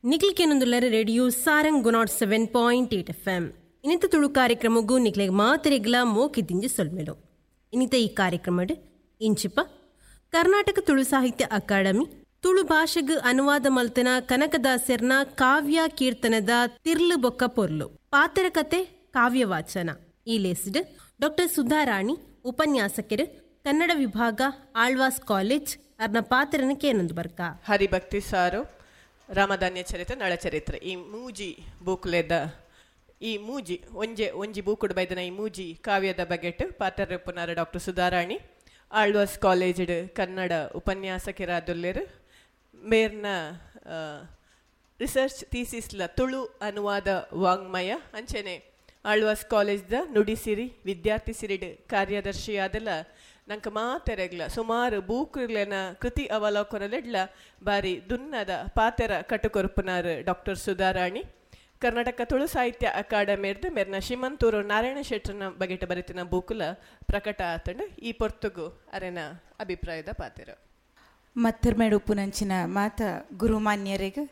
ನಿಕ್ಲ್ ಕೇನೊಂದುಲ್ಲರ್ radio Sarang 107.8 FM. ಇನಿತ ತುಳು ಕಾರ್ಯಕ್ರಮಗೂ ನಿಕ್ಲೆಗ್ ಮಾತೆರೆಗ್ಲಾ ಮೋಕೆದಿಂಜಿ ಸೊಲ್ಮೆಲು. ಇನಿತ ಈ ಕಾರ್ಯಕ್ರಮಡ್ ಇಂಚಿಪ ಕರ್ನಾಟಕ ತುಳು ಸಾಹಿತ್ಯ ಅಕಾಡೆಮಿ ತುಳು ಭಾಷೆಗ್ ಅನುವಾದ ಮಲ್ತನ ಕನಕದಾಸೆರ್ನ ಕಾವ್ಯ ಕೀರ್ತನದ ತಿರ್ಲು ಬೊಕ್ಕ ಪೊರ್ಲು ಪಾತರ ಕತೆ ಕಾವ್ಯ ವಾಚನ ಈ ಲೇಸ್ಡ್ ಡಾಕ್ಟರ್ ಸುಧಾರಾಣಿ ಉಪನ್ಯಾಸಕರು ಕನ್ನಡ ವಿಭಾಗ ಆಳ್ವಾಸ್ ಕಾಲೇಜ್ ಅರ್ನ ಪಾತ್ರನ ಕೇನೊಂದು ಬರ್ಕ. ಹರಿಭಕ್ತಿ ಸಾರು, ರಾಮಧಾನ್ಯ ಚರಿತ್ರೆ, ನಳಚರಿತ್ರೆ ಈ ಮೂಜಿ ಬೂಕುಲೆದ ಈ ಮೂಜಿ ಒಂಜೆ ಒಂಜಿ ಬೂಕುಡು ಬೈದನ ಈ ಮೂಜಿ ಕಾವ್ಯದ ಬಗೆಟ್ ಪಾತ್ರಪುನಾರ ಡಾಕ್ಟರ್ ಸುಧಾರಾಣಿ ಆಳ್ವಾಸ್ ಕಾಲೇಜ್ಡ್ ಕನ್ನಡ ಉಪನ್ಯಾಸಕರಾದುಲ್ಲೆರ್. ಮೇರ್ನ ರಿಸರ್ಚ್ ಥೀಸಿಸ್ಲ ತುಳು ಅನುವಾದ ವಾಂಗ್ಮಯ ಅಂಚನೆ ಆಳ್ವಾಸ್ ಕಾಲೇಜ್ದ ನುಡಿಸಿರಿ ವಿದ್ಯಾರ್ಥಿ ಸಿರಿಡ್ ಕಾರ್ಯದರ್ಶಿಯಾದಲ ನಂಕ ಮಾತೆರೆಗ್ಲ ಸುಮಾರು ಬೂಕುಲೆನ ಕೃತಿ ಅವಲೋಕನಲೆಡ್ಲ ಬಾರಿ ದುನ್ನದ ಪಾತೆರ ಕಟುಕೊರ್ಪುನಾರ್ ಡಾಕ್ಟರ್ ಸುಧಾರಾಣಿ. ಕರ್ನಾಟಕ ತುಳು ಸಾಹಿತ್ಯ ಅಕಾಡೆಮಿರ್ದು ಮೇರ್ನ ಶ್ರೀಮಂತೂರು ನಾರಾಯಣ ಶೆಟ್ಟರ್ನ ಬಗೆಟ ಬರಿತಿನ ಬೂಕುಲ ಪ್ರಕಟ ಆತಂಡು. ಈ ಪೊರ್ತುಗು ಅರೆನ ಅಭಿಪ್ರಾಯದ ಪಾತೆರ. ಮತ್ತರ್ಮೇಡು ಉಪ್ಪುನಂಚಿನ ಮಾತ ಗುರುಮಾನ್ಯರಿಗೆ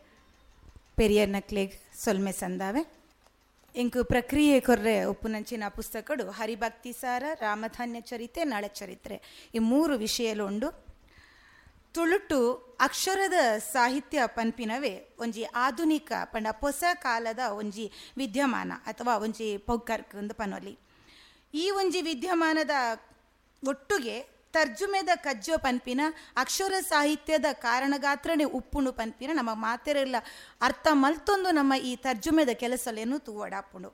ಪೆರಿಯರ್ ನಕ್ಲೆಗ್ ಸೊಲ್ಮೆ ಸಂದಾವೆ. ಎಂಕು ಪ್ರಕ್ರಿಯೆ ಕೊರ್ರೆ ಉಪ್ಪುನಂಚಿನ ಪುಸ್ತಕಡು ಹರಿಭಕ್ತಿ ಸಾರ, ರಾಮಧಾನ್ಯ ಚರಿತ್ರೆ, ನಳಚರಿತ್ರೆ ಈ ಮೂರು ವಿಷಯಲು ಉಂಡು. ತುಳುಟು ಅಕ್ಷರದ ಸಾಹಿತ್ಯ ಪನ್ಪಿನವೇ ಒಂಜಿ ಆಧುನಿಕ ಪಂಡ ಹೊಸ ಕಾಲದ ಒಂಜಿ ವಿದ್ಯಮಾನ ಅಥವಾ ಒಂಜಿ ಪೊಗ್ಗರ್ಕ್ ಅಂದ್ ಪನೊಲಿ. ಈ ಒಂಜಿ ವಿದ್ಯಮಾನದ ಒಟ್ಟುಗೆ ತರ್ಜುಮೆದ ಕಜ್ಜೋ ಪನ್ಪಿನ ಅಕ್ಷರ ಸಾಹಿತ್ಯದ ಕಾರಣಗಾತ್ರನೇ ಉಪ್ಪುಂಡು ಪನ್ಪಿನ ನಮ್ಮ ಮಾತೆರೆಲ್ಲ ಅರ್ಥ ಮಲ್ತೊಂದು ನಮ್ಮ ಈ ತರ್ಜುಮೆದ ಕೆಲಸಲೇನು ತೂವಡಾಪುಂಡು.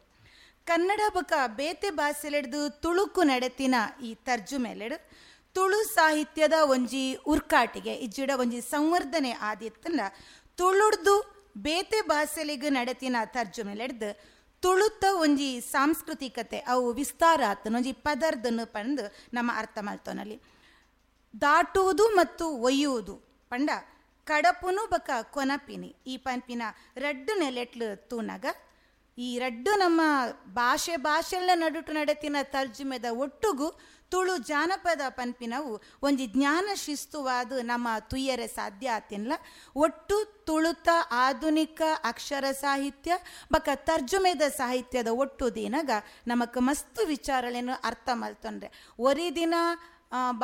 ಕನ್ನಡ ಬೊಕ ಬೇತೆ ಭಾಷೆಲೆಡ್ದು ತುಳುಕು ನಡೆತಿನ ಈ ತರ್ಜುಮೆಲೆಡು ತುಳು ಸಾಹಿತ್ಯದ ಒಂಜಿ ಉರ್ಕಾಟಿಗೆ ಇಜ್ಜಿಡ ಒಂಜಿ ಸಂವರ್ಧನೆ ಆದಿತ್ತಂಡ ತುಳುಡ್ದು ಬೇತೆ ಭಾಷೆಲಿಗೆ ನಡೆತಿನ ತರ್ಜುಮೆಲೆಡ್ದು ತುಳುತ್ತ ಒಂಜಿ ಸಾಂಸ್ಕೃತಿಕತೆ ಅವು ವಿಸ್ತಾರ ಆತನ ಒಂಜಿ ಪದರ್ದನ್ನು ಪಂದು ನಮ್ಮ ಅರ್ಥ ಮಲ್ತೊನಲ್ಲಿ. ದಾಟುವುದು ಮತ್ತು ಒಯ್ಯುವುದು ಪಂಡ ಕಡಪುನು ಬಕ ಕೊನಪಿನಿ ಈ ಪನ್ಪಿನ ರಡ್ಡು ನೆಲೆಟ್ಲು ತೂನಗ ಈ ರಡ್ಡು ನಮ್ಮ ಭಾಷೆ ಭಾಷೆಲ್ಲ ನಡುಟು ನಡೆತಿನ ತರ್ಜುಮೆದ ಒಟ್ಟುಗು ತುಳು ಜಾನಪದ ಪನ್ಪಿನವು ಒಂಜಿ ಜ್ಞಾನ ಶಿಸ್ತುವಾದ ನಮ್ಮ ತುಯ್ಯರೆ ಸಾಧ್ಯ ಆತಿನ್ಲ. ಒಟ್ಟು ತುಳುತ ಆಧುನಿಕ ಅಕ್ಷರ ಸಾಹಿತ್ಯ ಬಕ ತರ್ಜುಮೆದ ಸಾಹಿತ್ಯದ ಒಟ್ಟು ದಿನಗ ನಮಕ್ ಮಸ್ತು ವಿಚಾರಗಳೇನು ಅರ್ಥ ಮಲ್ತೊಂಡ್ರೆ ಒರಿ ದಿನ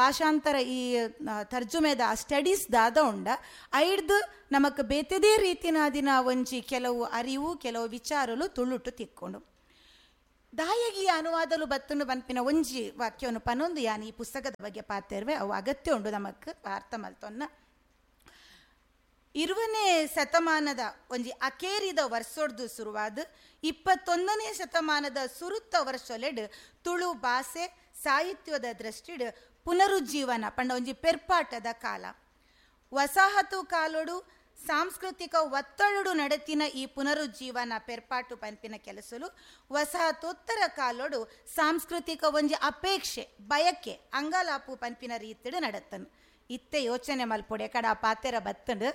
ಭಾಷಾಂತರ ಈ ತರ್ಜುಮೆದ ಸ್ಟಡೀಸ್ ದಾದ ಉಂಡ ಐಡ್ದು ನಮಕ್ ಬೇತೆದೇ ರೀತಿನ ದಿನ ಒಂಜಿ ಕೆಲವು ಅರಿವು ಕೆಲವು ವಿಚಾರಲು ತುಳುಟು ತಿಕ್ಕೊಂಡು ದಾಯಗಿ ಅನುವಾದಲು ಬತ್ತನು ಬನ್ಪಿನ ಒಂಜಿ ವಾಕ್ಯವನ್ನು ಪನೊಂದು ಯಾನ್ ಈ ಪುಸ್ತಕದ ಬಗ್ಗೆ ಪಾತಿರ್ವೆ ಅವು ಅಗತ್ಯ ಉಂಡು ನಮಕ್ ಅರ್ಥ ಮಲ್ತೊನ್ನ. 20ನೇ ಶತಮಾನದ ಒಂಜಿ ಅಕೇರಿದ ವರ್ಷೊಡ್ದು ಶುರುವಾದ 21ನೇ ಶತಮಾನದ ಸುರುತ್ತ ವರ್ಷೊಲೆಡ್ ತುಳು ಭಾಷೆ ಸಾಹಿತ್ಯದ ದೃಷ್ಟಿಡ್ ಪುನರುಜ್ಜೀವನ ಪಂಡ ಒಂಜಿ ಪೆರ್ಪಾಟದ ಕಾಲ. ವಸಾಹತು ಕಾಲೋಡು ಸಾಂಸ್ಕೃತಿಕ ಒತ್ತಡಡು ನಡೆತಿನ ಈ ಪುನರುಜ್ಜೀವನ ಪೆರ್ಪಾಟು ಪನ್ಪಿನ ಕೆಲಸಲು ವಸಾಹತೋತ್ತರ ಕಾಲೋಡು ಸಾಂಸ್ಕೃತಿಕ ಒಂಜಿ ಅಪೇಕ್ಷೆ ಬಯಕೆ ಅಂಗಲಾಪು ಪನ್ಪಿನ ರೀತಿಡು ನಡತ್ತನು. ಇತ್ತೆ ಯೋಚನೆ ಮಲ್ಪೊಡೆ ಕಡ ಪಾತೆರ ಬತ್ತಂಡು.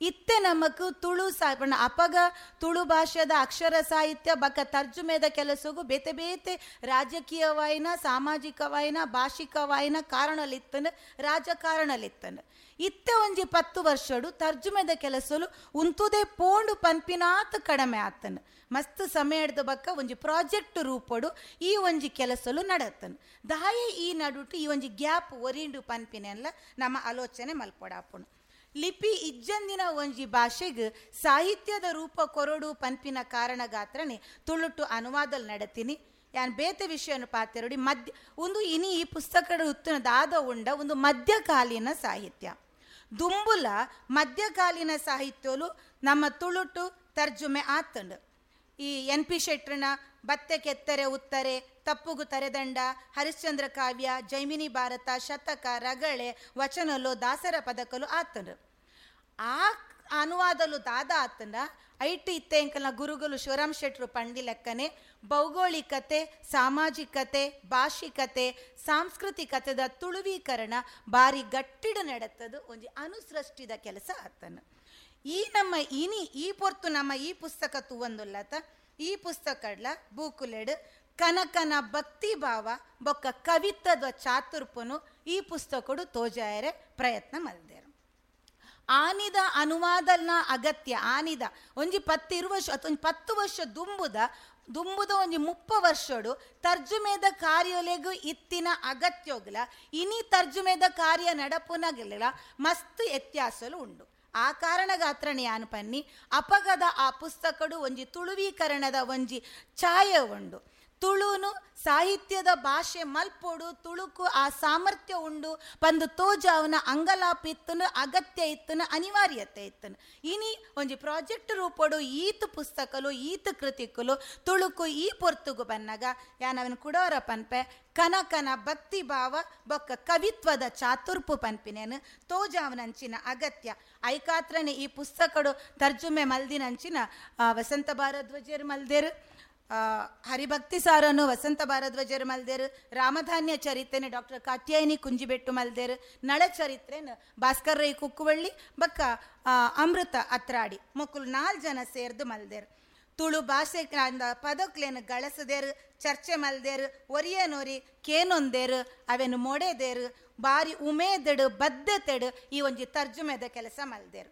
ಇತ್ತೆ ನಮಕ್ ತುಳು ಪಂಡ ಅಪಗ ತುಳು ಭಾಷೆದ ಅಕ್ಷರ ಸಾಹಿತ್ಯ ಬಕ ತರ್ಜುಮೆದ ಕೆಲಸಗೂ ಬೇತೆ ಬೇತೆ ರಾಜಕೀಯವಾಯಿನ ಸಾಮಾಜಿಕವಾಯಿನ ಭಾಷಿಕವಾಯಿನ ಕಾರಣಲಿತ್ತನು ರಾಜಕಾರಣಲಿತ್ತನು. ಇತ್ತೆ ಒಂಜಿ 10 ವರ್ಷಡು ತರ್ಜುಮೆದ ಕೆಲಸಲು ಉಂತುದೇ ಪೋಂಡು ಪನ್ಪಿನಾತ್ ಕಡಿಮೆ ಆತನು. ಮಸ್ತ್ ಸಮಯ ಹಿಡ್ದ ಬಕ್ಕ ಒಂಜಿ ಪ್ರಾಜೆಕ್ಟ್ ರೂಪಡು ಈ ಒಂಜಿ ಕೆಲಸಲು ನಡತ್ತನು. ದಾಯಿ ಈ ನಡುಟು ಈ ಒಂಜಿ ಗ್ಯಾಪ್ ಒರಿಂಡು ಪನ್ಪಿನೆಲ್ಲ ನಮ್ಮ ಆಲೋಚನೆ ಮಲ್ಪೊಡಾಪುಣು. ಲಿಪಿ ಇಜ್ಜಂದಿನ ಒಂಜಿ ಭಾಷೆಗೆ ಸಾಹಿತ್ಯದ ರೂಪ ಕೊರಡು ಪನ್ಪಿನ ಕಾರಣಗಾತ್ರನೆ ತುಳುಟು ಅನುವಾದಲ್ ನಡತೀನಿ. ಯಾನ್ ಬೇತೆ ವಿಷಯವನ್ನು ಪಾತೆರಡಿ ಮಧ್ಯ ಒಂದು ಇನಿ ಈ ಪುಸ್ತಕದ ಉತ್ತನದಾದ ಉಂಡ ಒಂದು ಮಧ್ಯಕಾಲೀನ ಸಾಹಿತ್ಯ ದುಂಬುಲ ಮಧ್ಯಕಾಲೀನ ಸಾಹಿತ್ಯಲು ನಮ್ಮ ತುಳುಟು ತರ್ಜುಮೆ ಆತಂಡು. ಈ ಎನ್ ಪಿ ಶೆಟ್ಟರ್ನ ಬತ್ತೆ ಕೆತ್ತರೆ ಉತ್ತರೆ, ತಪ್ಪುಗು ತರೆದಂಡ, ಹರಿಶ್ಚಂದ್ರ ಕಾವ್ಯ, ಜೈಮಿನಿ ಭಾರತ, ಶತಕ, ರಗಳೆ, ವಚನಲು, ದಾಸರ ಪದಕಲು ಆತಂಡು. ಆ ಅನುವಾದಲು ದಾದ ಆತಂಡ ಐಟು ಇತ್ತೆ ಎಂಕಲ್ನ ಗುರುಗಳು ಶಿವರಾಮ್ ಶೆಟ್ಟರು ಪಂಡಿ ಲೆಕ್ಕನೆ ಭೌಗೋಳಿಕತೆ, ಸಾಮಾಜಿಕತೆ, ಭಾಷಿಕತೆ, ಸಾಂಸ್ಕೃತಿಕತೆದ ತುಳುವೀಕರಣ ಬಾರಿ ಗಟ್ಟಿಡ ನಡತ್ತದು ಒಂಜಿ ಅನುಸೃಷ್ಟಿದ ಕೆಲಸ ಆತನು. ಈ ನಮ್ಮ ಇನಿ ಈ ಪೊರ್ತು ನಮ್ಮ ಈ ಪುಸ್ತಕ ತೂವಂದುಲ್ಲತ ಈ ಪುಸ್ತಕಡ್ಲ ಬೂಕುಲೆಡು ಕನಕನ ಭಕ್ತಿ ಭಾವ ಬೊಕ್ಕ ಕವಿತ್ವದ ಚಾತುರ್ಪುನು ಈ ಪುಸ್ತಕಡು ತೋಜಾಯರೆ ಪ್ರಯತ್ನ ಮಲ್ದೇರು. ಆನಿದ ಅನುವಾದನ ಅಗತ್ಯ ಆನಿದ ಒಂಜಿ 10 ವರ್ಷ ಅಥವಾ ಒಂಜಿ 10 ವರ್ಷ ದುಂಬುದ ಒಂಜಿ 30 ವರ್ಷಡು ತರ್ಜುಮೆದ ಕಾರ್ಯಲೆಗು ಇತ್ತಿನ ಅಗತ್ಯೋಗ್ಲ ಇನಿ ತರ್ಜುಮೆದ ಕಾರ್ಯ ನಡಪುನಗಲ ಮಸ್ತ್ ವ್ಯತ್ಯಾಸಲು ಉಂಡು. ಆ ಕಾರಣಗಾತ್ರನೆ ಯಾನು ಪನ್ನಿ ಅಪಗದ ಆ ಪುಸ್ತಕಡು ಒಂಜಿ ತುಳುವೀಕರಣದ ಒಂಜಿ ಛಾಯೆ ಉಂಡು. ತುಳುನು ಸಾಹಿತ್ಯದ ಭಾಷೆ ಮಲ್ಪೊಡು, ತುಳುಕು ಆ ಸಾಮರ್ಥ್ಯ ಉಂಡು ಪಂದು ತೋಜಾವನ ಅಂಗಲಾಪಿತ್ತನು ಅಗತ್ಯ ಇತ್ತನು ಅನಿವಾರ್ಯತೆ ಇತ್ತನು. ಇನಿ ಒಂಜಿ ಪ್ರಾಜೆಕ್ಟ್ ರೂಪಡು ಈತ ಪುಸ್ತಕಲು ಈತ ಕೃತಿಕಲು ತುಳುಕು ಈ ಪೊರ್ತುಗು ಬನ್ನಗ ಯಾನವನ ಕುಡೋರ ಪನ್ಪೆ ಕನಕನ ಭಕ್ತಿ ಭಾವ ಬೊಕ್ಕ ಕವಿತ್ವದ ಚಾತುರ್ಪು ಪನ್ಪಿನೇನು ತೋಜಾವನಂಚಿನ ಅಗತ್ಯ. ಐಕಾತ್ರನೆ ಈ ಪುಸ್ತಕಡು ತರ್ಜುಮೆ ಮಲ್ದಿನಂಚಿನ ವಸಂತ ಭಾರದ್ವಾಜರು ಮಲ್ದೇರು, ಹರಿಭಕ್ತಿ ಸಾರನು ವಸಂತ ಭಾರದ್ವಾಜರು ಮಲ್ದೇರು, ರಾಮಧಾನ್ಯ ಚರಿತ್ರೆನ ಡಾಕ್ಟರ್ ಕಾತ್ಯಾಯಿನಿ ಕುಂಜಿಬೆಟ್ಟು ಮಲ್ದೇರು, ನಳ ಚರಿತ್ರೆನ ಭಾಸ್ಕರ್ ರೈ ಕುಕ್ಕುವಳ್ಳಿ ಬಕ್ಕ ಅಮೃತ ಅತ್ರಾಡಿ ಮೊಕ್ಕಲು 4 ಜನ ಸೇರ್ದು ಮಲ್ದೇರು. ತುಳು ಭಾಷೆ ಪದಕ್ಲೇನು ಗಳಸದೇರು, ಚರ್ಚೆ ಮಲ್ದೇರು, ಒರಿಯನೊರಿ ಕೇನೊಂದೇರು, ಅವೇನು ಮೊಡೆದೇರು, ಬಾರಿ ಉಮೇದೆಡು ಬದ್ಧತೆಡು ಈ ಒಂಜಿ ತರ್ಜುಮೆದ ಕೆಲಸ ಮಲ್ದೇರು.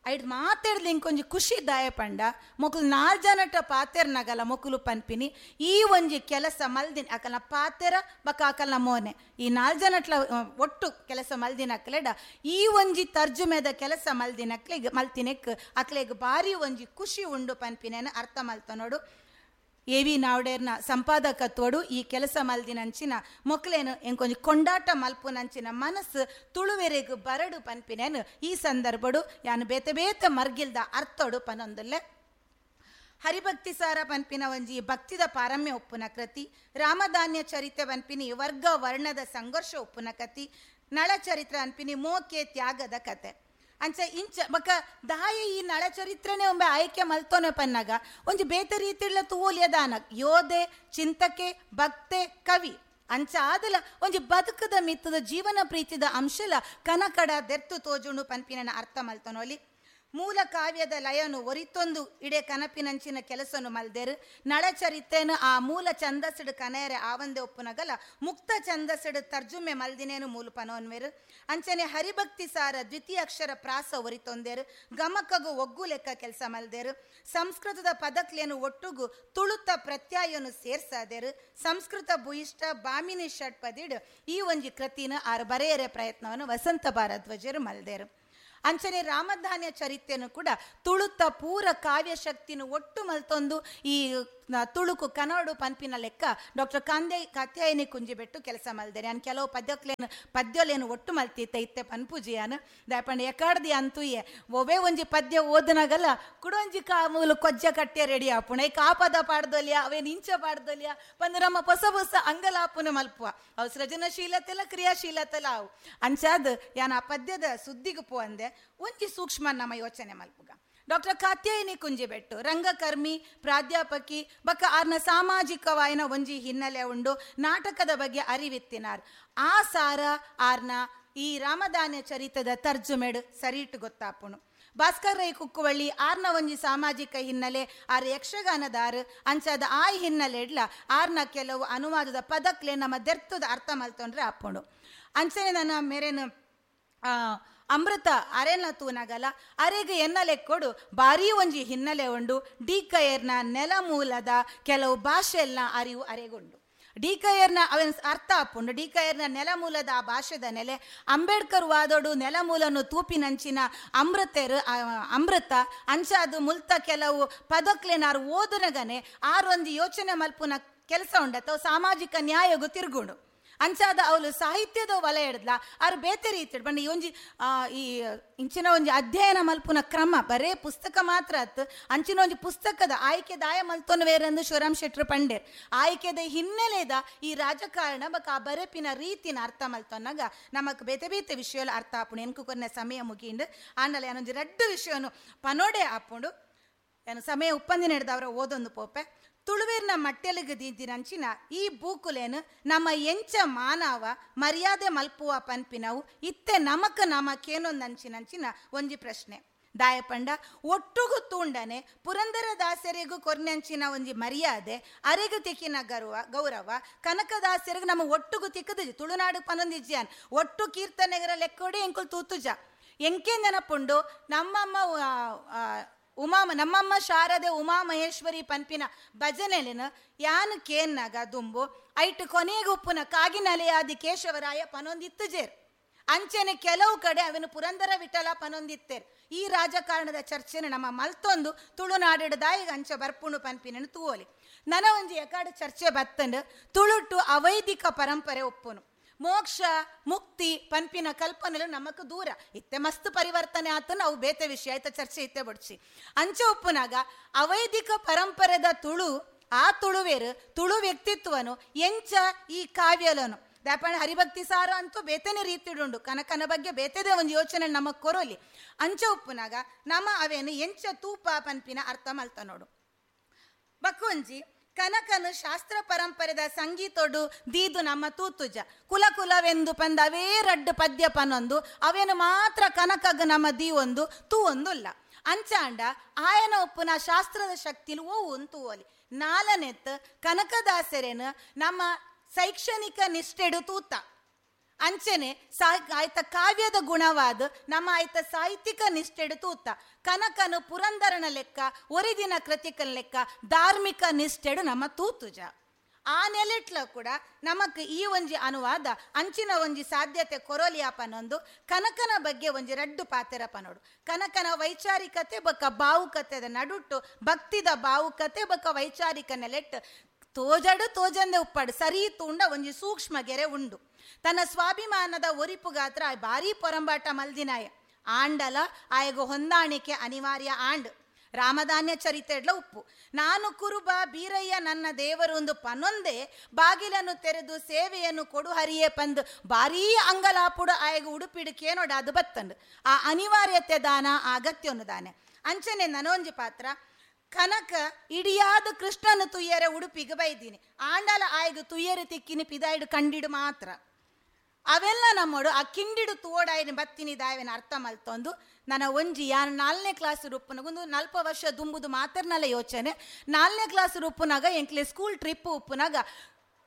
ಐಡ್ ಮಾತಾಡ್ದು ಇಂಕೊಂಜಿ ಖುಷಿ ದಾಯ ಪಂಡ ಮೊಕಲು 4 ಜನಟ ಪಾತೆರ್ನಗಲ ಮೊಕಲು ಪನ್ಪಿನಿ ಈ ಒಂಜಿ ಕೆಲಸ ಮಲ್ದಿನ ಅಕಲ್ನ ಪಾತೆರ ಬಕ್ಕ ಅಕಲ್ನ ಮೋನೆ ಈ 4 ಜನಟ್ಲ ಒಟ್ಟು ಕೆಲಸ ಮಲ್ದಿನ ಅಕ್ಲೆಡ ಈ ಒಂಜಿ ತರ್ಜುಮೆದ ಕೆಲಸ ಮಲ್ದಿನ ಅಕ್ಲೆಗ್ ಮಲ್ತಿನೆಕ್ ಅಕ್ಲೆಗ್ ಬಾರಿ ಒಂಜಿ ಖುಷಿ ಉಂಡು ಪನ್ಪಿನೇನು ಅರ್ಥ ಮಲ್ತ ನೋಡು. ಎ ವಿ ನಾವ್ಡೇರ್ನ ಸಂಪಾದಕತ್ವಡು ಈ ಕೆಲಸ ಮಲ್ದಿನಂಚಿನ ಮೊಕ್ಲೇನು ಎಂಕೊಂಜಿ ಕೊಂಡಾಟ ಮಲ್ಪುನಂಚಿನ ಮನಸ್ಸು ತುಳುವೆರೆಗು ಬರಡು ಪನ್ಪಿನೇನು ಈ ಸಂದರ್ಭಡು ಯಾನು ಬೇತೆ ಬೇತೆ ಮರ್ಗಿಲ್ದ ಅರ್ಥೋಡು ಪನೊಂದುಲ್ಲೆ. ಹರಿಭಕ್ತಿ ಸಾರ ಪನ್ಪಿನ ಒಂಜಿ ಭಕ್ತಿದ ಪಾರಮ್ಯ ಒಪ್ಪುನ ಕೃತಿ, ರಾಮಧಾನ್ಯ ಚರಿತ್ರೆ ಪನ್ಪಿನಿ ವರ್ಗ ವರ್ಣದ ಸಂಘರ್ಷ ಒಪ್ಪುನ ಕತಿ, ನಳ ಚರಿತ್ರೆ ಅನ್ಪಿನಿ ಮೋಕೆ ತ್ಯಾಗದ ಕತೆ. ಅಂಚ ಇಂಚ ಬಕ ದಾಯ ಈ ನಳ ಚರಿತ್ರೆನೆ ಒಮ್ಮೆ ಆಯ್ಕೆ ಮಲ್ತೋನೆ ಪನ್ನಾಗ ಒಂಜಿ ಬೇತೆ ರೀತಿಳ್ಳ ತೂಲಿಯದಾನ ಯೋಧೆ ಚಿಂತಕೆ ಭಕ್ತೆ ಕವಿ ಅಂಚ ಆದಲ ಒಂಜಿ ಬದುಕದ ಮಿತ್ತದ ಜೀವನ ಪ್ರೀತಿದ ಅಂಶಲ ಕನಕಡ ದೆರ್ತು ತೋಜುಣು ಪನ್ಪಿನ ಅರ್ಥ ಮಲ್ತನೋಲಿ. ಮೂಲ ಕಾವ್ಯದ ಲಯನು ಒರಿತೊಂದು ಇಡೆ ಕನಪಿನಂಚಿನ ಕೆಲಸನು ಮಲ್ದೇರು. ನಳಚರಿತ್ರೆನು ಆ ಮೂಲ ಛಂದಸ್ಸಡು ಕನೆಯರೆ ಆವಂದೆ ಒಪ್ಪುನಗಲ ಮುಕ್ತ ಛಂದಸ್ಸಡು ತರ್ಜುಮೆ ಮಲ್ದಿನೇನು ಮೂಲ ಪನೋನ್ವೇರು. ಅಂಚನೆ ಹರಿಭಕ್ತಿ ಸಾರ ದ್ವಿತೀಯ ಅಕ್ಷರ ಪ್ರಾಸ ಒರಿತೊಂದೇರು, ಗಮಕಗು ಒಗ್ಗು ಲೆಕ್ಕ ಕೆಲಸ ಮಲ್ದೇರು. ಸಂಸ್ಕೃತದ ಪದಕ್ಲೇನು ಒಟ್ಟುಗು ತುಳುತ ಪ್ರತ್ಯಯನು ಸೇರ್ಸಾದೇರು. ಸಂಸ್ಕೃತ ಭೂಯಿಷ್ಠ ಬಾಮಿನಿ ಷಟ್ಪದಿಡು ಈ ಒಂಜಿ ಕೃತಿನ ಆರು ಬರೆಯರೆ ಪ್ರಯತ್ನವನ್ನು ವಸಂತ ಭಾರದ್ವಾಜರು ಮಲ್ದೇರು. ಅಂಚನೆ ರಾಮಧಾನ್ಯ ಚರಿತ್ರೆಯನ್ನು ಕೂಡ ತುಳುತ ಪೂರ ಕಾವ್ಯಶಕ್ತಿನ ಒಟ್ಟು ಮಲ್ತೊಂದು ಈ ತುಳುಕು ಕನ್ನಡ ಪನ್ಪಿನ ಲೆಕ್ಕ ಡಾಕ್ಟರ್ ಕಾತ್ಯಾಯಿನಿ ಕುಂಜಿಬೆಟ್ಟು ಕೆಲಸ ಮಲ್ದೇನೆ. ನಾನು ಕೆಲವು ಪದ್ಯಲೇನು ಒಟ್ಟು ಮಲ್ತಿತ್ತ ಇತ್ತೆ ಪನ್ಪುಜಿಯಾನು ದಾಪಂಡ ಎಕಾಡ್ದಿ ಅಂತುಯೆ ಒವೇ ಒಂಜಿ ಪದ್ಯ ಓದನಾಗಲ್ಲ ಕುಡೊಂಜಿ ಕಾ ಮೂಲು ಕೊಜ್ಜ ಕಟ್ಟೆ ರೆಡಿ ಆಪುಣ ಈ ಕಾಪದ ಪಾಡ್ದೊಲಿಯ ಅವೇನು ಇಂಚ ಪಾಡ್ದೊಲಿಯ ಪಂದು ನಮ್ಮ ಹೊಸ ಹೊಸ ಅಂಗಲಾಪುನ ಮಲ್ಪುವ ಅವು ಸೃಜನಶೀಲತೆಲ್ಲ ಕ್ರಿಯಾಶೀಲತೆಲ್ಲ ಅವು ಅಂಚಾದ್ ಯಾನ್ ಆ ಪದ್ಯದ ಸುದ್ದಿಗೆ ಪೋ ಅಂದೆ ಒಂಜಿ ಸೂಕ್ಷ್ಮ ನಮ್ಮ ಯೋಚನೆ ಮಲ್ಪುಗ. ಡಾಕ್ಟರ್ ಕಾತ್ಯಾಯಿನಿ ಕುಂಜಿಬೆಟ್ಟು ರಂಗಕರ್ಮಿ ಪ್ರಾಧ್ಯಾಪಕಿ ಬಕ್ಕ ಆರ್ನ ಸಾಮಾಜಿಕವಾಯಿನ ಒಂಜಿ ಹಿನ್ನೆಲೆ ಉಂಡು, ನಾಟಕದ ಬಗ್ಗೆ ಅರಿವಿತ್ತಿನಾರ್. ಆ ಸಾರ ಆರ್ನ ಈ ರಾಮಧಾನ್ಯ ಚರಿತ್ರದ ತರ್ಜುಮೆಡು ಸರಿಟು ಗೊತ್ತಾಪುಣು. ಭಾಸ್ಕರ್ ರೈ ಕುಕ್ಕುವಳ್ಳಿ ಆರ್ನ ಒಂಜಿ ಸಾಮಾಜಿಕ ಹಿನ್ನೆಲೆ, ಆರ್ ಯಕ್ಷಗಾನದಾರು ಅಂಚಾದ ಆ ಹಿನ್ನೆಲೆ ಇಡ್ಲ ಆರ್ನ ಕೆಲವು ಅನುವಾದದ ಪದಕ್ಲೆ ನಮ್ಮ ದೆರ್ತದ ಅರ್ಥ ಮಲ್ತೊಂಡ್ರೆ ಆಪುಣು. ಅಂಚನೆ ನನ್ನ ಮೇರೇನು ಅಮೃತ ಅರೆನ ತೂನಗಲ ಅರೆಗೆ ಎನ್ನಲೆ ಕೊಡು ಭಾರೀ ಒಂಜಿ ಹಿನ್ನೆಲೆ ಉಂಡು. ಡಿಕಯರ್ನ ನೆಲಮೂಲದ ಕೆಲವು ಭಾಷೆಲ್ಲ ಅರಿವು ಅರೆಗುಂಡು. ಡಿಕಯರ್ನ ಅವನ ಅರ್ಥ ಆಪುಂಡು. ಡಿಕಯರ್ನ ನೆಲಮೂಲದ ಆ ಭಾಷೆದ ನೆಲೆ ಅಂಬೇಡ್ಕರ್ ವಾದೋಡು ನೆಲಮೂಲನು ತೂಪಿನಂಚಿನ ಅಮೃತೆರು ಅಮೃತ ಅಂಚಾದು ಮುಲ್ತ ಕೆಲವು ಪದಕ್ಲೆನಾರು ಓದುನಗನೆ ಆರೊಂದು ಯೋಚನೆ ಮಲ್ಪುನ ಕೆಲಸ ಉಂಡತ್ತ ಸಾಮಾಜಿಕ ನ್ಯಾಯಗು ತಿರುಗುಂಡು. ಅಂಚಾದ ಅವಳು ಸಾಹಿತ್ಯದ ವಲಯ ಹಿಡ್ದ್ಲ ಆರು ಬೇತೆ ರೀತಿ ಬಣ್ಣ ಈ ಒಂಜಿ ಈ ಇಂಚಿನ ಒಂಜಿ ಅಧ್ಯಯನ ಮಲ್ಪುನ ಕ್ರಮ ಬರೇ ಪುಸ್ತಕ ಮಾತ್ರ ಅತ್ತು ಅಂಚಿನ ಒಂಜಿ ಪುಸ್ತಕದ ಆಯ್ಕೆ ದಾಯ ಮಲ್ತೊನ ಬೇರೆಂದು ಶಿವರಾಮ್ ಶೆಟ್ರು ಪಂಡೇರ್ ಆಯ್ಕೆದ ಹಿನ್ನೆಲೆದ ಈ ರಾಜಕಾರಣ ಬಕ್ ಆ ಬರೆಪಿನ ರೀತಿನ ಅರ್ಥ ಮಲ್ತೊನ್ನಾಗ ನಮಕ್ ಬೇತೆ ಬೇತೆ ವಿಷಯ ಅರ್ಥ ಆಪುಂಡು. ಎನ್ಕು ಕೊನೆ ಸಮಯ ಮುಗಿಂಡು ಆಂಡಲ ಏನೊಂಜಿ ರಡ್ಡು ವಿಷಯನು ಪನೋಡೆ ಆಪುಂಡು. ಏನು ಸಮಯ ಉಪ್ಪಂದಿನ ಹಿಡ್ದವರ ಓದೊಂದು ಪೋಪೆ ತುಳುವೇರ್ನ ಮಟ್ಟೆಲಿಗೆ ದೀದಿನಂಚಿನ ಈ ಬೂಕುಲೇನು ನಮ್ಮ ಎಂಚ ಮಾನವ ಮರ್ಯಾದೆ ಮಲ್ಪುವ ಪನ್ಪಿನವು ಇತ್ತೆ ನಮಕ ನಮಕೇನೊಂದಂಚಿನಂಚಿನ ಒಂಜಿ ಪ್ರಶ್ನೆ. ದಾಯಪಂಡ ಒಟ್ಟುಗು ತೂಂಡನೆ ಪುರಂದರದಾಸರಿಗೂ ಕೊರ್ನಂಚಿನ ಒಂಜಿ ಮರ್ಯಾದೆ ಅರೆಗು ತಿಕ್ಕಿನ ಗೌರವ ಕನಕದಾಸರಿಗೆ ನಮ್ಮ ಒಟ್ಟುಗು ತಿಕ್ಕದು ತುಳುನಾಡು ಪನೊಂದಿಜ್ಯಾನ್ ಒಟ್ಟು ಕೀರ್ತನೆಗರ ಲೆಕ್ಕೋಡಿ ಎಂಕುಲ್ ತೂತುಜ. ಎಂಕೆ ನೆನಪುಂಡು ನಮ್ಮಮ್ಮ ಉಮಾ ನಮ್ಮಮ್ಮ ಶಾರದೆ ಉಮಾ ಮಹೇಶ್ವರಿ ಪನ್ಪಿನ ಭಜನೆಲಿನ ಯಾನು ಕೇನ್ನಾಗ ದುಂಬು ಐಟ್ ಕೊನೆಗೆ ಉಪ್ಪುನ ಕಾಗಿನಲೆಯಾದಿ ಕೇಶವರಾಯ ಪನೊಂದಿತ್ತು ಜೇರ್. ಅಂಚೆನೆ ಕೆಲವು ಕಡೆ ಅವನು ಪುರಂದರ ವಿಠಲ ಪನೊಂದಿತ್ತೇರ್. ಈ ರಾಜಕಾರಣದ ಚರ್ಚೆನ ನಮ್ಮ ಮಲ್ತೊಂದು ತುಳುನಾಡಿಡದಾಯಿಗ ಅಂಚೆ ಬರ್ಪುಣು ಪನ್ಪಿನ ತೂವೊಲಿ. ನನ ಒಂಜಿ ಎಕಾಡು ಚರ್ಚೆ ಬತ್ತಂಡು ತುಳುಟು ಅವೈದಿಕ ಪರಂಪರೆ ಒಪ್ಪುನು, ಮೋಕ್ಷ ಮುಕ್ತಿ ಪನ್ಪಿನ ಕಲ್ಪನೆಲು ನಮಕ್ ದೂರ ಇತ್ತೆ ಮಸ್ತ್ ಪರಿವರ್ತನೆ ಆತ ನಾವು ಬೇತೆ ವಿಷಯ ಆಯ್ತ ಚರ್ಚೆ ಇತ್ತೆ ಬಡ್ಚಿ. ಅಂಚೆ ಒಪ್ಪುನಾಗ ಅವೈದಿಕ ಪರಂಪರೆದ ತುಳು ಆ ತುಳುವೇರು ತುಳು ವ್ಯಕ್ತಿತ್ವನು ಎಂಚ ಈ ಕಾವ್ಯಲನು ದಾಪಣ ಹರಿಭಕ್ತಿ ಸಾರ ಅಂತೂ ಬೇತನೆ ರೀತಿಡುಂಡು, ಕನಕನ ಬಗ್ಗೆ ಬೇತದೆ ಒಂದು ಯೋಚನೆ ನಮಗ್ ಕೊರೋಲಿ. ಅಂಚೆ ಉಪ್ಪುನಾಗ ನಮ್ಮ ಅವೇನು ಎಂಚ ತೂಪ ಪನ್ಪಿನ ಅರ್ಥ ಮಲ್ತ ನೋಡು. ಬಕ್ಕೊಂಜಿ ಕನಕನು ಶಾಸ್ತ್ರ ಪರಂಪರೆದ ಸಂಗೀತೊಡು ದೀದು ನಮ್ಮ ತೂತುಜ ಕುಲ ಕುಲವೆಂದು ಪಂದ ಅವೇ ರಡ್ಡು ಪದ್ಯ ಪನೊಂದು ಅವೇನು ಮಾತ್ರ ಕನಕಗ ನಮ್ಮ ದೀವೊಂದು ತೂವೊಂದುಲ್ಲ. ಅಂಚಾಂಡ ಆಯನ ಉಪ್ಪುನ ಶಾಸ್ತ್ರದ ಶಕ್ತಿಲು ಓವು ತೂವಲಿ. ನಾಲನೆತ್ ಕನಕದಾಸರೇನು ನಮ್ಮ ಶೈಕ್ಷಣಿಕ ನಿಷ್ಠೆಡು ತೂತ ಅಂಚೆನೆ ಆಯ್ತ ಕಾವ್ಯದ ಗುಣವಾದ ನಮ್ಮ ಆಯ್ತ ಸಾಹಿತ್ಯಿಕ ನಿಷ್ಠೆಡು ತೂತ ಕನಕನು ಪುರಂದರನ ಲೆಕ್ಕ ಒರಿದಿನ ಕೃತಿಕನ ಲೆಕ್ಕ ಧಾರ್ಮಿಕ ನಿಷ್ಠೆಡು ನಮ್ಮ ತೂತುಜ. ಆ ನೆಲೆಟ್ಲ ಕೂಡ ನಮಕ್ ಈ ಒಂಜಿ ಅನುವಾದ ಅಂಚಿನ ಒಂಜಿ ಸಾಧ್ಯತೆ ಕೊರೋಲಿಯಾಪನೊಂದು ಕನಕನ ಬಗ್ಗೆ ಒಂಜಿ ರಡ್ಡು ಪಾತೆರಪ ನೋಡು. ಕನಕನ ವೈಚಾರಿಕತೆ ಬೊಕ್ಕ ಭಾವುಕತೆದ ನಡುಟ್ಟು ಭಕ್ತಿದ ಭಾವುಕತೆ ಬೊಕ್ಕ ವೈಚಾರಿಕ ನೆಲೆಟ್ಟು ತೋಜಡು ತೋಜಂದೆ ಉಪ್ಪಾಡು ಸರಿ ತೂಂಡ ಒಂಜಿ ಸೂಕ್ಷ್ಮ ಗೆರೆ ಉಂಡು. ತನ್ನ ಸ್ವಾಭಿಮಾನದ ಒರಿಪುಗಾತ್ರ ಭಾರೀ ಪೊರಂಬಾಟ ಮಲ್ದಿನಾಯ ಆಂಡಲ ಆಯಗು ಹೊಂದಾಣಿಕೆ ಅನಿವಾರ್ಯ ಆಂಡ್. ರಾಮಧಾನ್ಯ ಚರಿತೆಡ್ಲ ಉಪ್ಪು ನಾನು ಕುರುಬ ಬೀರಯ್ಯ ನನ್ನ ದೇವರು ಒಂದು ಪನೊಂದೇ ಬಾಗಿಲನ್ನು ತೆರೆದು ಸೇವೆಯನ್ನು ಕೊಡು ಹರಿಯೇ ಪಂದು ಭಾರೀ ಅಂಗಲಾಪುಡು ಆಯಗು ಉಡುಪಿಡುಕೇನೋಡ ಅದು ಬತ್ತಂಡು ಆ ಅನಿವಾರ್ಯತೆ ದಾನ ಅಗತ್ಯವನ್ನು ದಾನೆ. ಅಂಚನೆ ನನೊಂಜಿ ಪಾತ್ರ ಕನಕ ಇಡಿಯಾದ ಕೃಷ್ಣನ ತುಯ್ಯರೆ ಉಡುಪಿಗೆ ಬೈದೀನಿ ಆಂಡಲ ಆಯಗು ತುಯ್ಯರೆ ತಿಕ್ಕಿನಿ ಪಿದಾಯಿಡು ಕಂಡಿಡು ಮಾತ್ರ ಅವೆಲ್ಲ ನಮ್ಮೋಡು ಆ ಕಿಂಡಿಡು ತೋಡಾಯಿನ ಬತ್ತಿನಿ ದಾಯವೆನ ಅರ್ಥ ಮಲ್ತೊಂದು ನನ್ನ ಒಂಜಿ ಯಾನು 4ನೇ ಕ್ಲಾಸ್ ರೂಪುನಾಗ ಒಂದು 40 ವರ್ಷ ದುಂಬುದು ಮಾತ್ರನಲ್ಲ ಯೋಚನೆ. 4ನೇ ಕ್ಲಾಸ್ ರೂಪುನಾಗ ಎಂಕ್ಲೆ ಸ್ಕೂಲ್ ಟ್ರಿಪ್ ಉಪ್ಪುನಾಗ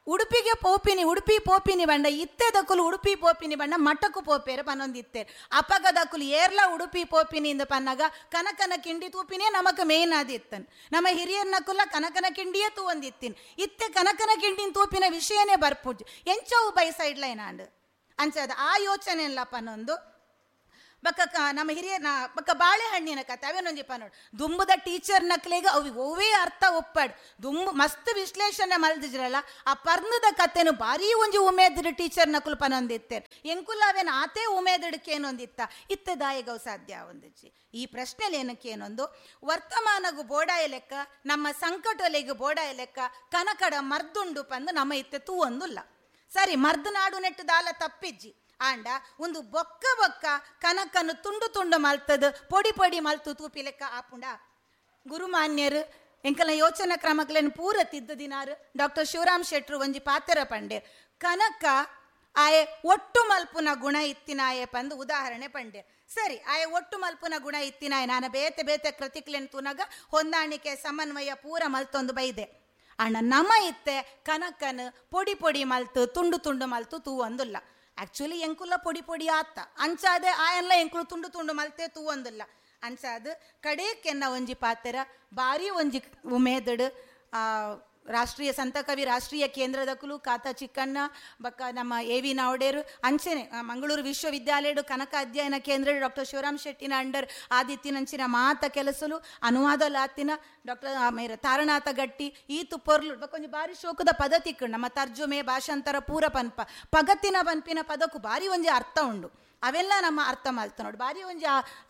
ಉಡುಪಿಗೆ ಪೋಪಿನಿ ಉಡುಪಿ ಪೋಪಿನಿ ಬಂಡ ಇತ್ತೆ ದಕ್ಕುಲು ಉಡುಪಿ ಪೋಪಿನಿ ಬಂಡ ಮಠಕ್ಕೂ ಪೋಪೇರು ಪನ್ನೊಂದಿತ್ತೇರು. ಅಪಗ ದಕ್ಕುಲು ಏರ್ಲ ಉಡುಪಿ ಪೋಪಿನಿ ಇಂದ ಪನ್ನಾಗ ಕನಕನ ಕಿಂಡಿ ತೂಪಿನೇ ನಮಕ್ ಮೇನ್ ಆದಿತ್ತನ್. ನಮ್ಮ ಹಿರಿಯರ್ನಕುಲ ಕನಕನ ಕಿಂಡಿಯೇ ತೂವೊಂದಿತ್ತೀನಿ ಇತ್ತೆ ಕನಕನ ಕಿಂಡಿನ ತೂಪಿನ ವಿಷಯನೇ ಬರ್ಪುಜ್ ಎಂಚವು ಬೈ ಸೈಡ್ ಲೈನ್ ಆಂಡ್ ಅಂಚದ ಆ ಯೋಚನೆ ಇಲ್ಲ ಪನ್ನೊಂದು. ಬಕ್ಕ ನಮ್ಮ ಹಿರಿಯ ಬಕ್ಕ ಬಾಳೆಹಣ್ಣಿನ ಕತೆ ಅವೇನೊಂಜಿ ಪನ್ನೋಡು ದುಂಬುದ ಟೀಚರ್ ನಕ್ಲೆಗ ಅವು ಒವೇ ಅರ್ಥ ಒಪ್ಪಾಡು ದುಂಬು ಮಸ್ತ್ ವಿಶ್ಲೇಷಣೆ ಮಲ್ದಿದ್ರಲ್ಲ ಆ ಪರ್ಣದ ಕತೆನು ಭಾರೀ ಒಂಜಿ ಉಮೇದಿಡು ಟೀಚರ್ ನಕುಲು ಪನೊಂದಿತ್ತೇರು ಎಂಕುಲ ಅವೇನು ಆತೇ ಉಮೇದಿಡಕ್ಕೇನೊಂದಿತ್ತ ಇತ್ತೆ ದಾಯಿಗವು ಸಾಧ್ಯ ಒಂದಿಜ್ಜಿ. ಈ ಪ್ರಶ್ನೆಲಿ ಏನಕ್ಕೇನೊಂದು ವರ್ತಮಾನಗು ಬೋಡಾಯ ಲೆಕ್ಕ ನಮ್ಮ ಸಂಕಟೊಲೆಗು ಬೋಡಾಯ ಲೆಕ್ಕ ಕನಕಡ ಮರ್ದುಂಡು ಪಂದು ನಮ್ಮ ಇತ್ತೆ ತೂವೊಂದುಲ್ಲ. ಸರಿ ಮರ್ದು ನಾಡು ನೆಟ್ಟು ದಾಲ ತಪ್ಪಿಜ್ಜಿ ಆಂಡ ಒಂದು ಬೊಕ್ಕ ಬೊಕ್ಕ ಕನಕನ್ನು ತುಂಡು ತುಂಡು ಮಲ್ತದ ಪೊಡಿ ಪೊಡಿ ಮಲ್ತು ತೂಪಿ ಲೆಕ್ಕ ಆಪುಂಡ. ಗುರುಮಾನ್ಯರು ಎಂಕಲ ಯೋಚನಾ ಕ್ರಮಕ್ಲೇನು ಪೂರ ತಿದ್ದ ದಿನಾರು ಡಾಕ್ಟರ್ ಶಿವರಾಮ್ ಶೆಟ್ರು ಒಂಜಿ ಪಾತೆರ ಪಂಡೇರ್ ಕನಕ ಆಯೆ ಒಟ್ಟು ಮಲ್ಪುನ ಗುಣ ಇತ್ತಿನಾಯೆ ಪಂದು ಉದಾಹರಣೆ ಪಂಡೇರ್. ಸರಿ ಆಯೆ ಒಟ್ಟು ಮಲ್ಪುನ ಗುಣ ಇತ್ತಿನಾಯೆ ನಾನು ಬೇತೆ ಬೇತೆ ಕೃತಿಕ್ಲೇನು ತೂನಾಗ ಹೊಂದಾಣಿಕೆ ಸಮನ್ವಯ ಪೂರ ಮಲ್ತೊಂದು ಬೈದೆ ಅಣ್ಣ ನಮ ಇತ್ತೆ ಕನಕನು ಪೊಡಿ ಪೊಡಿ ಮಲ್ತು ತುಂಡು ತುಂಡು ಮಲ್ತು ತೂವೊಂದುಲ್ಲ. ಆ್ಯಕ್ಚುಲಿ ಎಂಕುಲ ಪೊಡಿ ಪೊಡಿ ಆತ್ತ ಅಂಚಾದೆ ಆಯನ್ಲ ಎಂಕುಲು ತುಂಡು ತುಂಡು ಮಲ್ತೆ ತೂವೊಂದುಲ್ಲ. ಅಂಚಾದ ಕಡೇಕೆನ್ನ ಒಂಜಿ ಪಾತೆರ ಭಾರಿ ಒಂಜಿ ಉಮೇದಡು ರಾಷ್ಟ್ರೀಯ ಸಂತಕವಿ ರಾಷ್ಟ್ರೀಯ ಕೇಂದ್ರದಕುಲು ಕಾತ ಚಿಕ್ಕಣ್ಣ ಬಕ್ಕ ನಮ್ಮ ಎ ವಿ ನಾವಡೇರು ಅಂಚೆನೆ ಮಂಗಳೂರು ವಿಶ್ವವಿದ್ಯಾಲಯಡು ಕನಕ ಅಧ್ಯಯನ ಕೇಂದ್ರ ಡಾಕ್ಟರ್ ಶಿವರಾಮ್ ಶೆಟ್ಟಿನ ಅಂಡರ್ ಆದಿತ್ತಿನಂಚಿನ ಮಾತ ಕೆಲಸಲು ಅನುವಾದಲಾತಿನ ಡಾಕ್ಟರ್ ಮೇರ ತಾರನಾಥ ಗಟ್ಟಿ ಈತು ಪೊರ್ಲು ಬಕ್ಕೊಂಜಿ ಭಾರಿ ಶೋಕದ ಪದ ತಿಕ್ಕು ನಮ್ಮ ತರ್ಜುಮೆ ಭಾಷಾಂತರ ಪೂರ ಪನ್ಪ ಪಗತ್ತಿನ ಪನ್ಪಿನ ಪದಕ್ಕೂ ಭಾರಿ ಒಂಜಿ ಅರ್ಥ ಉಂಡು ಅವೆಲ್ಲ ನಮ್ಮ ಅರ್ಥ ಮಲ್ತ ನೋಡಿ ಭಾರಿ ಒಂಜಿ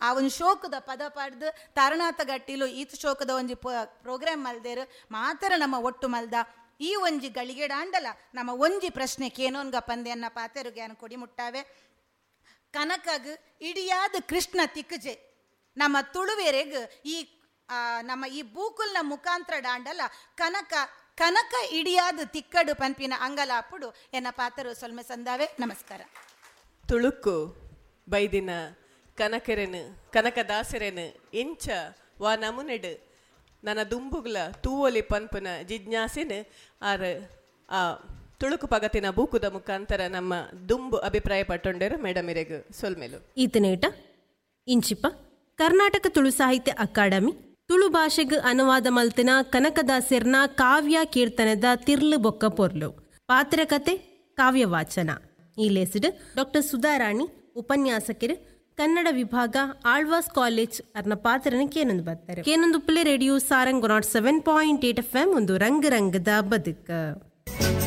ಆ ಒಂದು ಶೋಕದ ಪದ ಪಡೆದು ತಾರನಾಥ ಗಟ್ಟಿಲು ಈತ ಶೋಕದ ಒಂಜಿ ಪ್ರೋಗ್ರಾಮ್ ಮಲ್ದೇರು ಮಾತ್ರ ನಮ್ಮ ಒಟ್ಟು ಮಲ್ದ ಈ ಒಂಜಿ ಗಳಿಗೆಡಾಂಡಲ ನಮ್ಮ ಒಂಜಿ ಪ್ರಶ್ನೆ ಕೇನೋನ್ಗ ಪಂದೆಯನ್ನ ಪಾತೆರುಗ್ಯಾನ ಕೊಡಿ ಮುಟ್ಟಾವೆ. ಕನಕಗ್ ಇಡಿಯಾದ ಕೃಷ್ಣ ತಿಕ್ಕಜೆ ನಮ್ಮ ತುಳುವೆರೆಗ್ ಈ ನಮ್ಮ ಈ ಬೂಕುಲ್ನ ಮುಖಾಂತರ ಡಾಂಡಲ ಕನಕ ಕನಕ ಇಡಿಯಾದ ತಿಕ್ಕಡು ಪನ್ಪಿನ ಅಂಗಲಾಪುಡು ಎನ್ನ ಪಾತರು ಸೊಲ್ಮೆ ಸಂದಾವೆ. ನಮಸ್ಕಾರ. ತುಳುಕು ಬೈದಿನ ಕನಕರೆನು ಕನಕದಾಸರೆನು ಇಂಚ ವಾ ನಮುನೆಡು ನನ್ನ ದುಂಬುಗ್ಲ ತೂವೊಲಿ ಪನ್ಪುನ ಜಿಜ್ಞಾಸೆನು ಆರ್ ಆ ತುಳುಕು ಪಗತಿನ ಬೂಕುದ ಮುಖಾಂತರ ನಮ್ಮ ದುಂಬು ಅಭಿಪ್ರಾಯ ಪಟ್ಟೊಂಡೇರು. ಮೇಡಮ್ ಇರೆಗ್ ಸೊಲ್ಮೆಲು. ಈತನೇಟ ಇಂಚಿಪ ಕರ್ನಾಟಕ ತುಳು ಸಾಹಿತ್ಯ ಅಕಾಡೆಮಿ ತುಳು ಭಾಷೆಗ್ ಅನುವಾದ ಮಲ್ತಿನ ಕನಕದಾಸೆರ್ನ ಕಾವ್ಯ ಕೀರ್ತನದ ತಿರ್ಲು ಬೊಕ್ಕ ಪೊರ್ಲು ಪಾತ್ರಕತೆ ಕಾವ್ಯವಾಚನ ಈ ಲೇಸಿಡ್ ಡಾಕ್ಟರ್ ಸುಧಾರಾಣಿ ಉಪನ್ಯಾಸಕರು ಕನ್ನಡ ವಿಭಾಗ ಆಳ್ವಾಸ್ ಕಾಲೇಜ್ ಅರ್ನ ಪಾತ್ರನ ಕೇನೊಂದು ಬರ್ತಾರೆ. ಕೇನೊಂದು ಪ್ಲೇ radio Sarang 107.8 FM ಒಂದು ರಂಗ ರಂಗದ ಬದುಕು.